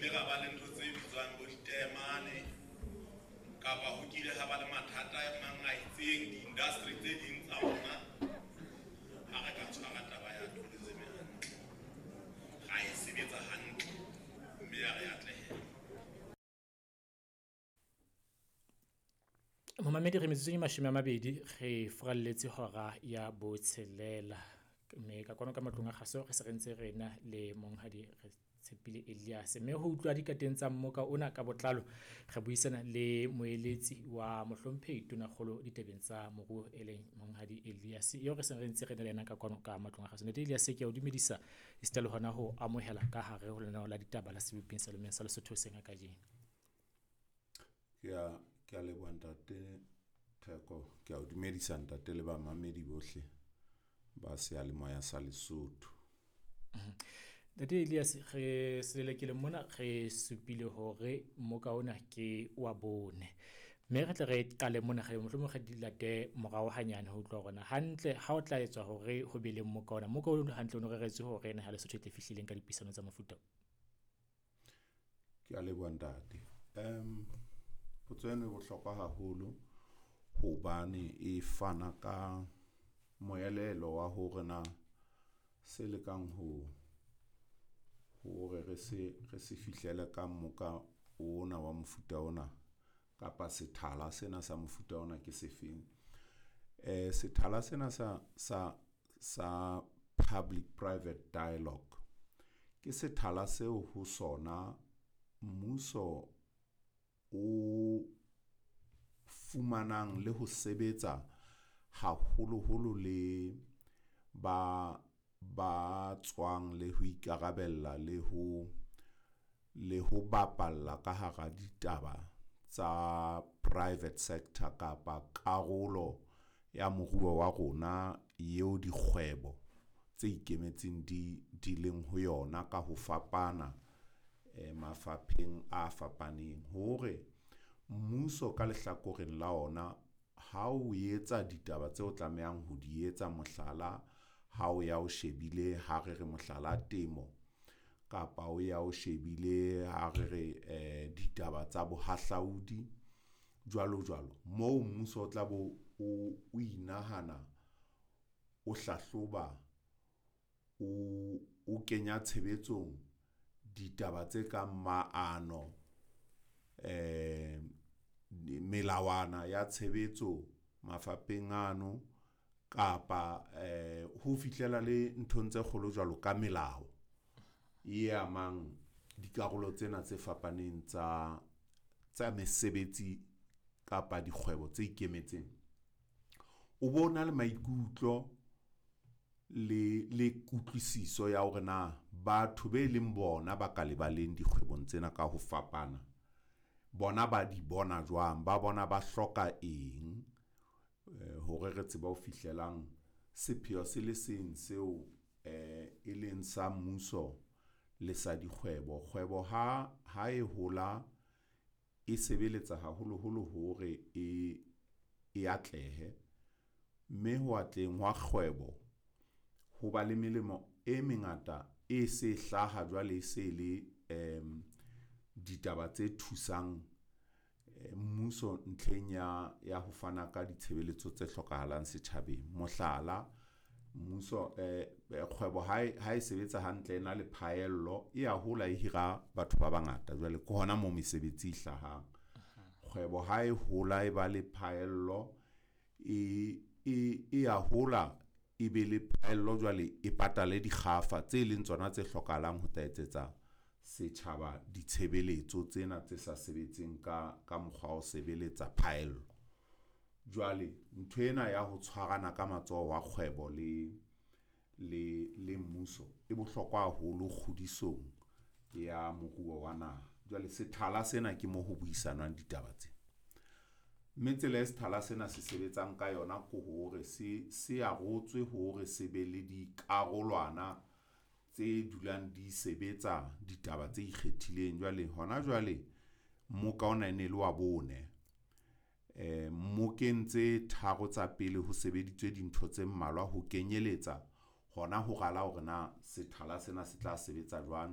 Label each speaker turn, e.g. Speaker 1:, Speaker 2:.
Speaker 1: Re ile ra ba le ntho tse bitswang bo diteemane, kapa ho kile ha ba le mathata a mang a itseng di-industry tse ding tsa rona. Ha re ka tshwara taba ya tourism hantle, ra e sebetsa hantle, mme ya re atlehela.
Speaker 2: Momamedi, re metsotsong e 20 re furalletse hora ya 6, mme ka kwano ka matlong a kgaso re se re ntse re na le monghadi Re Tshepile Elias, mme ho utlwa dikateng tsa mmoka ona ka botlalo re buisana le moeletsi wa mohlomphehi Tonakgolo ditabeng tsa moruo e leng monghadi Elias, eo re seng re ntse re na le yena ka kwano ka matlong a kgaso. Ntate Elias, ke a o dumedisa esita le hona ho amohela ka hare ho lenaneo la ditaba la seboping sa lemeng sa Lesotho hoseng ha kajeno.
Speaker 3: Ke a leboha ntate Theko, ke a o dumedisa ntate le bamamedi bohle ba seyalemoya sa Lesotho.
Speaker 2: Ntate Elias, re selelekele mona re supile hore mmoka ona ke wa bone, mme re tle re qale mona, re mohlomong re di late morao hanyane ho utlwa hore na hantle ha o tla etswa hore ho be le mmoka ona, mmoka ona hantle o no reretswe hore naha ya Lesotho e tle fihlileng ka dipuisano tsa mofuta o.
Speaker 3: Ke a leboha ntate. Potso eno e bohlokwa haholo hobane e fana ka moelelo wa hore na se lekang ho hore re se fihlele ka mmoka ona wa mofuta ona kapa sethala sena sa mofuta ona ke sefeng. Sethala sena sa public private dialogue ke sethala seo ho sona mmuso o fumanang le ho sebetsa haholoholo le ba tswang le ho ikarabella le ho bapalla ka hara ditaba tsa private sector kapa karolo ya moruo wa rona eo dikgwebo tse ikemetseng di leng ho yona ka ho fapana mafapheng a fapaneng. Hore mmuso ka lehlakoreng la ona ha o etsa ditaba tseo tlamehang ho di etsa, mohlala ha o ya o shebile ha re re mohlala temo, kapa o ya o shebile ha re re ditaba tsa bohahlaudi jwalo jwalo, moo mmuso o tla bo o inahana, o hlahloba, o kenya tshebetsong ditaba tse kang maano, melawana ya tshebetso mafapheng ano, kapa ho fihlela le nthong tse kgolo jwalo ka melao e amang dikarolo tsena tse fapaneng tsa mesebetsi kapa dikgwebo tse ikemetseng. O bona le maikutlo le kutlwisiso ya hore na batho be leng bona ba ka lebaleng dikgwebong tsena ka ho fapana, bona ba di bona jwang, ba bona ba hloka eng hore re tsebe ho fihlelang sepheo se le seng seo e leng sa mmuso le sa dikgwebo. Kgwebo ha e hola e sebeletsa haholoholo hore e atlehe, mme ho atleheng hwa kgwebo ho ba le melemo e mengata e se hlaha jwale e se le ditaba tse thusang mmuso ntlheng ya ho fana ka ditshebeletso tse hlokahalang setjhabeng. Mohlala, mmuso kgwebo ha e sebetsa hantle, e na le phaello e ya hola, e hira batho ba bangata jwale ke hona moo mesebetsi e hlahang. Kgwebo ha e hola e ba le phaello e ya hola, e be le phaello jwale e patale dikgafa tse leng tsona tse hlokahalang ho tla etsetsa setjhaba ditshebeletso tsena tse sa sebetseng ka mokgwa wa ho sebeletsa phaello. Jwale nthwena ya ho tshwarana ka matsoho wa kgwebo le mmuso e bohlokwa haholo kgodisong ya moruo wa naha. Jwale sethala sena ke mo ho buisanwang ditaba tsena, mme tsela e sethala sena se sebetsang ka yona ke hore se arotswe hore se be le dikarolwana tse dulang di sebetsa ditaba tse ikgethileng. Jwale hona jwale mmoka ona e ne le wa bone. Mmokeng tse tharo tsa pele ho sebeditswe dintho tse mmalwa ho kenyeletsa hona ho rala hore na sethala sena se tla sebetsa jwang.